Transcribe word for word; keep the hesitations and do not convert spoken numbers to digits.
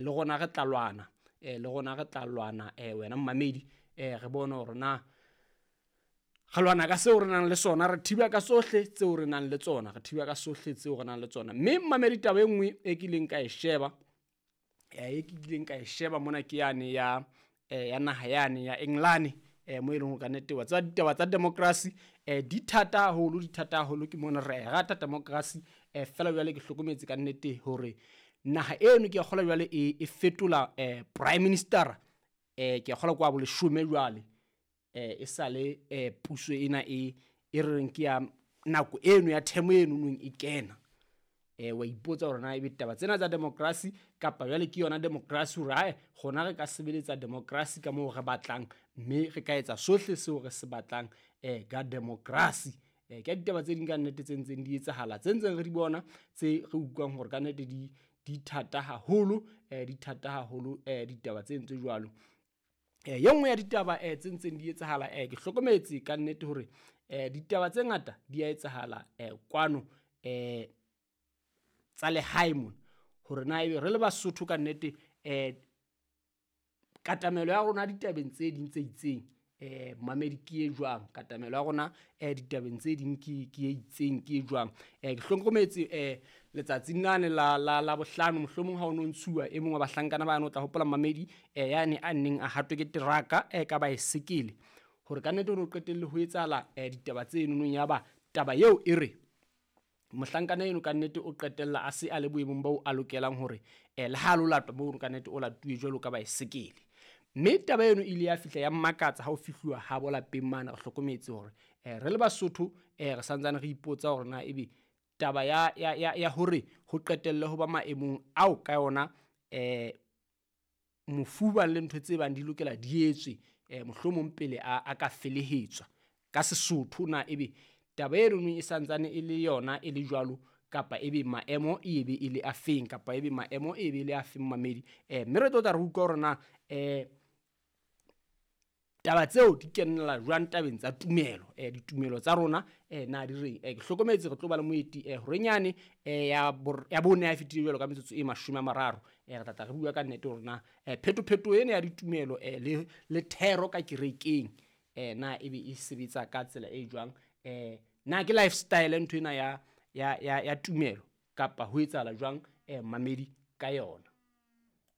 Le rona re tla lwana, eh le rona re tla lwana eh wena mmamedi, eh re bone hore na re lwana ka seo re nang le sona, re thiba ka sohle tseo re nang le tsona, re thiba ka sohle tseo re nang le tsona. Mme mmamedi, taba e nngwe e kileng ka e sheba, e kileng ka e sheba mona ke yane ya ya naha yane ya England, mo e leng hore ka nnete wa tseba ditaba tsa democracy di thata haholo, di thata haholo. Ke mona re rata democracy, feela jwale ke hlokometse ka nnete hore naha eno ke a kgolwa jwale e fetola prime minister, ke a kgolwa kwa boleshome jwale, e sale puso ena e e reng ke ya nako eno ya term eno nong e kena. Wa ipotsa hore na ebe taba tsena tsa democracy kapa jwale ke yona democracy, hore hae rona re ka sebeletsa democracy ka moo re batlang, mme re ka etsa sohle seo re se batlang ka democracy. Ke ditaba tse ding ka nnete tse ntseng di etsahala, tse ntseng re di bona, tse re utlwang hore ka nnete di di thata haholo, di thata haholo ditaba tse tse jwalo. E nngwe ya ditaba tse ntseng di etsahala, ke hlokometse ka nnete hore ditaba tse ngata di a etsahala kwano tsa lehae mona, hore na ebe re le Basotho ka nnete katamelo ya rona ditabeng tse ding tse itseng, mamedi ke e jwang, katamelo ya rona ditabeng tse ding ke ke e itseng, ke e jwang. Ke hlokometse letsatsing lane la la la bohlano, mohlomong ha o no ntshuwa e mong wa bahlankana bane, o tla hopola mamedi, yane a neng a hatwe ke teraka ka baesekele, hore ka nnete ho no qetelle ho etsahala ditaba tse nonong. Ya ba taba eo e re mohlankana eno ka nnete o qetella a se a le boemong bo a lokelang hore le ha lo latwa mono ka nnete o latuwe jwalo ka baesekele. Mme taba eno ile ya fihla ya mmakatsa ha o fihluwa ha bo lapeng mane. Re hlokometse hore re le Basotho re santsane re ipotsa hore na ebe taba ya ya ya hore ho qetelle ho ba maemong ao ka yona mofu bang le ntho tse bang di lokela di etswe mohlomong pele a ka felehetswa ka Sesotho, na ebe taba eno e santsane e le yona e le jwalo, kapa ebe maemo e be e le afeng, kapa ebe maemo e be le afeng mamedi. Mme re tlo tla re utlwa hore na taba tseo di kenella jwang tabeng tsa tumelo, ditumelo tsa rona na di reng. Ke hlokometse re tlo ba le moeti horenyane ya ya bone ha e fetile jwalo ka metsotso e mashome a mararo, re tla tla re bua ka nnete hore na phetopheto ena ya ditumelo le le thero ka kerekeng na ebe e sebetsa ka tsela e jwang, na ke lifestyle ntho ena ya ya ya ya tumelo kapa ho etsahala jwang mamedi ka yona.